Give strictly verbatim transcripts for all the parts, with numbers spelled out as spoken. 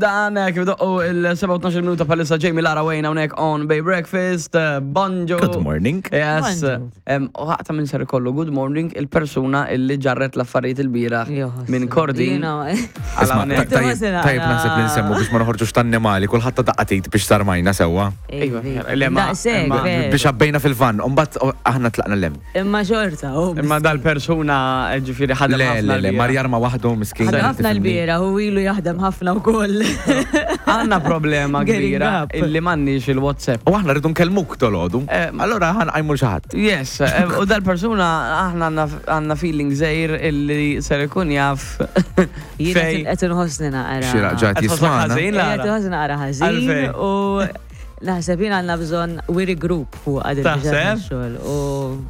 Dan eh, kif doqqu il-sebgħa u tnax-il minuta bħalissa, Jamie, Lara, Wayne hawnhekk on Bay Breakfast, eh, Bonġu. Good morning. Yes. Bonġu. Em, U ħaqta minn ser ikollu good morning il-persuna illi ġarret l-affarijiet il-bieraħ minn Kordin. Jiena. Għal Isma, hawnhekk. ta- Tajjeb Tajjeb, tajjeb naħseb li nsemmu biex ma noħorġux tan-annimali, kulħadd ta' daqqa t'id biex sarmajna sewwa. Iva, le, ma- Daqshekk, imma- veru. Biex għabbejna fil-van, u mbagħad aħna tlaqna 'l hemm. Imma xorta, u. Imma dal-persuna eh, ġifieri ħadem Le, ħafna le, le, l-bieraħ. mar jarma waħdu, miskin. Ħadem ħafna tifhimni. l-bieraħ, u ilu jaħdem ħafna wkoll. Għandna problema Getting kbira up. illi m'għandniex il-WhatsApp. U aħna rridu nkellmuk dolodu. Eh, Allora ħa nqajmu 'l xi ħadd. Yes, eh, u dal-persuna aħna għandna- għandna feeling żgħir illi ser ikun jaf Jiena fej. qed inħossni naqra. Xi raġat Qed tħossok jismana. ħażin, Lara? Qed inħossni naqra ħażin Għalfejn? u naħseb jien għandna bżonn we regroup fuq għad Taħseb? xogħol u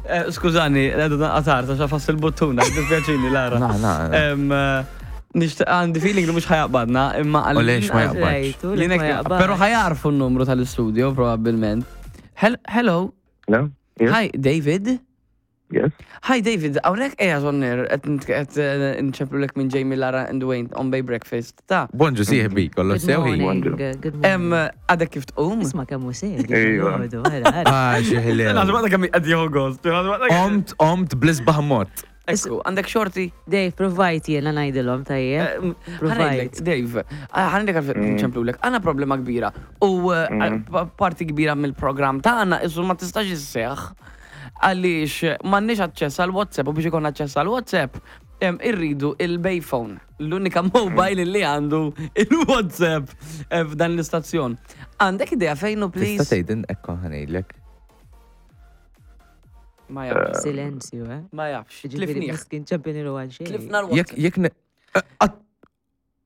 Eh, Skużani, għadu qatar, ta' xafass il-buttuna, dispjaċini, Lara. Na, na. Em, eh, Nixtieq, għandi feeling li mhux ħa jaqbadna, imma U lex ma jaqbadx. Rajtu, li Jinek- ma jaqbadx. Pero ħa jarfu n-numru tal-studio, probabbilment. Hel- Hello, Hello? Yes? Hi, David. Yes? Hi, David, hawnhekk eja zonner, qed nċemplu minn Jamie, Lara and Wayne on Bay Breakfast. Ta' Bonġu sieħbi, kollu Good sew hi. morning, good morning. Em, għadek kif tqum? Isma' kemm hu serju. Ejwa. Għodu, ara, ara. Ah, xi ħlew. Naħseb għadek kemm qed jieħu gost. Omt, omt bl-isbaħ mod. Ekku, għandek xorti? Dave, provajt jiena ngħidilhom tajjeb. Ħa ngħidlek, Dave, ħa ngħidlek għalfejn nċemplu lek, għandna problema kbira u eh, pa- parti kbira mill-program tagħna issu ma tistax isseħ għaliex m'għandniex aċċess għal WhatsApp u biex ikun aċċess għal WhatsApp em, irridu il-Bayphone, l-unika mobile li għandu il-WhatsApp eh, f'dan l-istazzjon. Għandek idea fejnu, Tista' please? tgħidin ekko ħa ngħidlek. Ma jafx. Silenzju, eh? Ma jafx. Ġifieri Tlifnieh. miskin ċempinilu għal xejn. Tlifna Jekk l-WhatsApp. jekk ne- Eh, għat-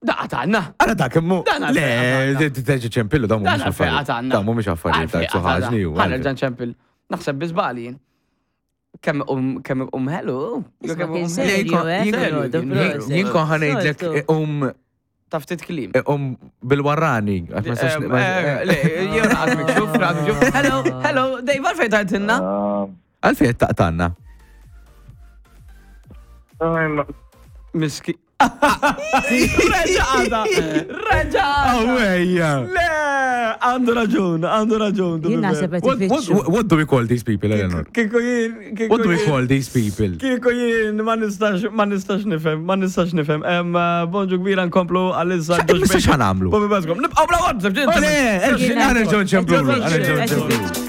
Da għatanna. Ara dak immu. Dan għalfejn Le, għatanna. teġi ċempillu dawn Dan mhumiex għalfejn affarijiet. għatanna. Dawn mhumiex affarijiet ta' suħaġni u. Ħa nerġa' nċempil. Naħseb bi żball jien. Kemm um kemm um hello. Isma' Kemm kien um serju, hello. eh? Serju, Filgħodu, jien. proset. Jien kon ħa ngħidlek Soltu. um Ta' ftit kliem. um bil-warrani. Għax ma nistax- Em, ma- eh, Le, jew raqad mikxuf, raqad mikxuf. Hello, hello, Dave, għalfejn tajtinna? Um, Għalfejn qed taqtanna. I'm not. Miski. Reġa għada! Reġa għada! Awejja. Le, għandu raġun, għandu raġun. Jien naħseb qed What, what, ifittxu. what do we call these people, Eleanor? Kieku jien, kieku What do we jien- call these people? Kieku jien, ma nistax, ma nistax nifhem, ma nistax nifhem. Em, eh, bonġu kbira, nkomplu għal-issa. Issa x'ħa nagħmlu? Bobby Bascom. Nibqaw bla WhatsApp, ġinta. Le, Jien ħa nerġgħu nċemplu. qed Ħa nerġgħu ifittxu. nċemplu.